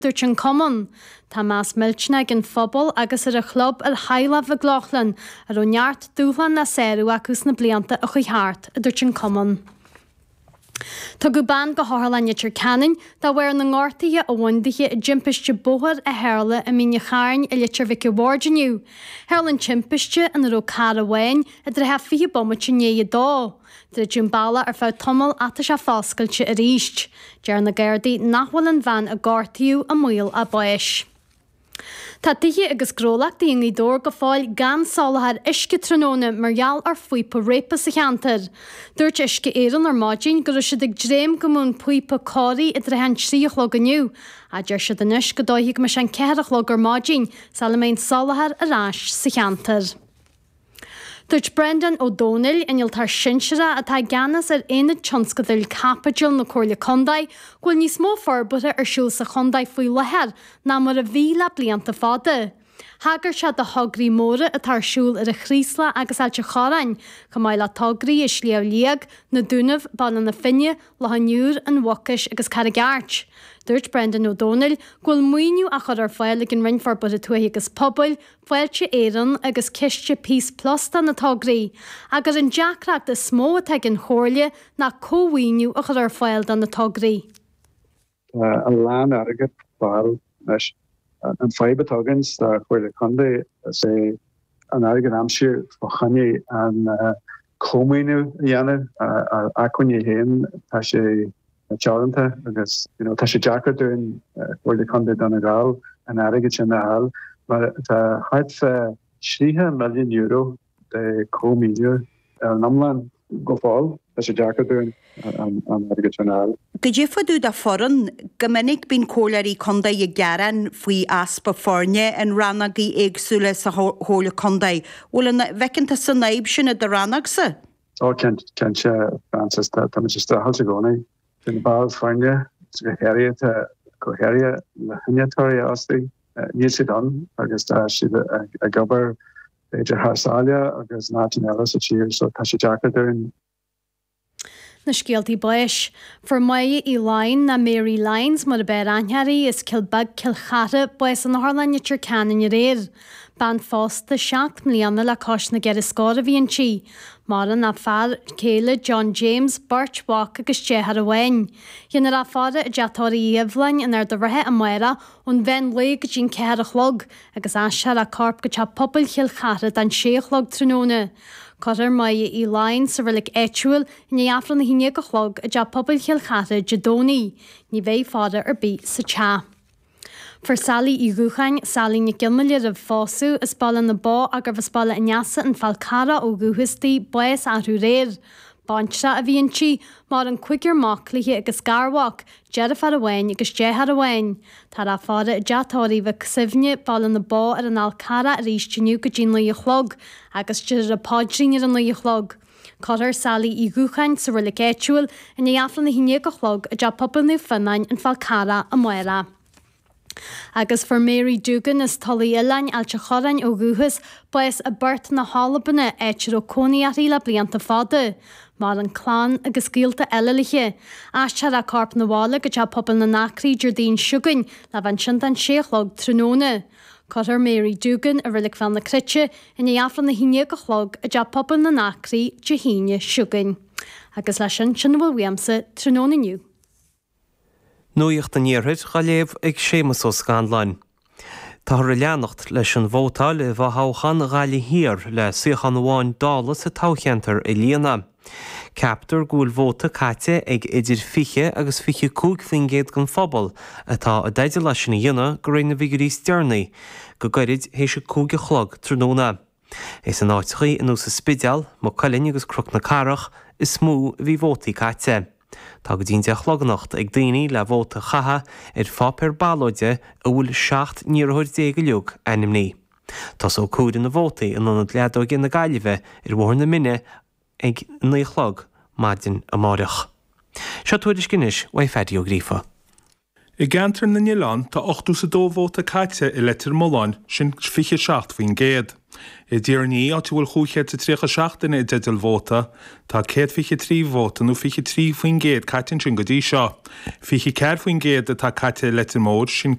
Dúirt an Cumann, Tá meas millteanach ag an phobal agus ar an chlub ar theaghlach Mhic Lochlainn, a raibh neart dúshlán le sárú acu sna blianta a chuaigh thart, a dúirt an Cumann. Tugadh bean go hOtharlann Leitir Ceanainn de bharr na ngortuithe a bhain dithe i dtimpiste bóthair a tharla i Mín an Chairn i Leitir Mhic a' Bhaird inniu. Tharla an timpiste, ina raibh carr amháin, i dtrátha 20 bomaite i ndiaidh a dó. Druideadh an bealach ar feadh tamaill ach tá sé foscailte arís. Deir na Gardaí nach bhfuil an bhean a gortaíodh i mbaol a báis. Tá tithe agus gnólachtaí i nGaoth Dobhair go fóill gan soláthar uisce tráthnóna mar gheall ar phíopa réabtha sa cheantar. Dúirt Uisce Éireann ar maidin go raibh siad ag dréim go mbeadh an píopa cóirithe i dtrátha an 3 a chlog inniu ach deir siad anois go dóichí go mbeidh sé an 4 a chlog ar maidin sula mbeidh an soláthar ar ais sa cheantar. Dúirt Breandán Ó Domhnaill, innealtóir sinsearach atá i gceannas ar Aonad Tionscadail Caipitil na Comhairle Contae, go bhfuil níos mó forbartha ar siúl sa chontae faoi láthair ná mar a bhí le blianta fada. Thagair sé do thograí móra atá ar siúl ar an Chraoslach agus Ailt an Chorráin, chomh maith le tograí i Sliabh Liag, Na Dúnaibh, Baile na Finne, Loch an Iúir, An Mhucais agus Carraig Airt. Dúirt Breandán Ó Domhnaill go bhfuil maoiniú á chur ar fáil ag an Roinn Forbartha Tuaithe agus Pobail, Fáilte Éireann agus Ciste Peace Plus do na tograí, ach gur an deacracht is mó atá ag an Chomhairle ná cómhaoiniú a chur ar fáil do na tograí. Tá a lán airgead ar fáil anois. An fadhb atá againn sa Chomhairle Contae is é an airgead a aimsiú fá choinne an cómhaoiniú a dhéanamh. Ár acmhainní féin tá sé teoranta agus you know tá sé deacair dúinn, Comhairle Contae Dhún na nGall, an airgead sin a fháil mar tá thart fá €30 milliún de chómhaoiniú ar an iomlán go fóill. Tá sé deacair dúinn an airgead sin a fháil. Goidé fá dtaobh de foireann, go minic bíonn comhairleoirí contae ag gearán faoi easpa foirne in rannógaí éagsúla sa chomhairle contae. Bhfuil an bhfeiceann tusa an fhadhb sin i do rannógsa? Ó, cinnte, Francis, táimid ag streachailt i gcónaí. Tá na baill foirne, go háirithe, go háirithe na hinnealtóirí a fhostú, níl siad ann agus tá siad ag obair b'fhéidir thar sáile agus in áiteanna eile sa tír so tá sé deacair dúinn. Na scéaltaí báis. Fuair Máire Uí Laighin, nó Mary Lyons mar ab fhearr aithne uirthi, as Cill Beag, Cill Chartha, bás in Otharlann Leitir Ceanainn aréir. Bean phósta 7 mbliana le cois na gceithre scór a bhí inti. Maireann a fear céile John James, beirt mhac agus deartháir amháin. Déanfar í a fhaire i dteach tórraimh Uí Dhoibhleáin in Ard an Rátha amárach ón mheán lae go dtí an 4 a chlog agus aistreofar a corp go Teach Pobail Chill Chartha don 6 a chlog tráthnóna. Cuirfear Máire Uí Laighin sa reilig áitiúil i ndiaidh Aifreann a 11 a chlog i dTeach Pobail Chill Chartha Dé Domhnaigh. Ní bheidh faire ar bith sa teach. Fuair Sally Uí Dhúcháin, Sally Nic Fhionnghaile roimh phósadh, as Baile na Bó ach gurbh as Baile an Easa, An Fál Carrach ó dhúchas di, bás arú aréir. Baintreach a bhí inti, maireann cúigear mac léi agus garmhac, Deirfiúr amháin agus deartháir amháin. Táthar á faire i dteach tórraimh Mhic Suibhne, Baile na Bó ar an Fhál Carrach arís inniu go dtí 9 a chlog agus déarfar an paidrín ar a 9 a chlog. Cuirfear Sally Uí Dhúcháin sa reilig áitiúil i ndiaidh Aifreann a 11 a chlog i dTeach Pobail Naomh Fionnáin, An Fál Carrach amárach. Agus fuair Mary Doogan as Tulaigh Oileáin, Ailt an Chorráin ó dhúchas, bás i bPort na hAlban, áit a raibh cónaí uirthi le blianta fada. Maireann clann agus gaolta eile léi. Aistreofar a corp 'na bhaile go Teach Pobail na nAcraí Déardaoin seo chugainn le bheith ansin don sé a chlog tráthnóna. Cuirfear Mary Doogan i Reilig Bhéal na Cruite i ndiaidh Aifreann 11 a chlog i dTeach Pobail na nAcraí Dé hAoine seo chugainn. Agus leis sin, sin a bhfuil uaimse tráthnóna inniu. Nuacht an Iarthair á léamh ag Séamus Ó Scanláin. Táthar ag leanacht leis an vótáil i bhfothoghchán Ghaillimh Thiar le suíochán amháin Dála sa toghcheantar a líonadh. Ceaptar go bhfuil vóta caite ag idir 20 agus 25% den phobal atá i dteideal é sin a dhéanamh de réir na bhfigiúirí is deireanaí, go gairid théis a 5 a chlog tráthnóna. Is in áiteachaí ar nós an Spidéal, Maigh Cuilinn agus Cnoc na Cathrach is mó a bhí vótaí caite. Tá go dtí an 10 a chlog anocht ag daoine le vóta a chaitheamh ar pháipéar ballóide a bhfuil 17 n-iarrthóir uilig ainmnithe. Tosóidh comhaireamh na vótaí in Ionad Leadóige na Gaillimhe ar Bhóthar na Mine ag 9 a chlog maidin amáireach. Seo tuairisc anois uaidh Phaddy Ó Gríofa. I gceantar na nOileán, tá 82 vóta caite i Leitir Mealláin, sin 27%. I dTír an Fhia, áit a bhfuil 537 duine i dteideal vóta, tá 123 vóta nó 23% caite ansin go dtí seo. 24% atá caite i Leitir Móir, sin.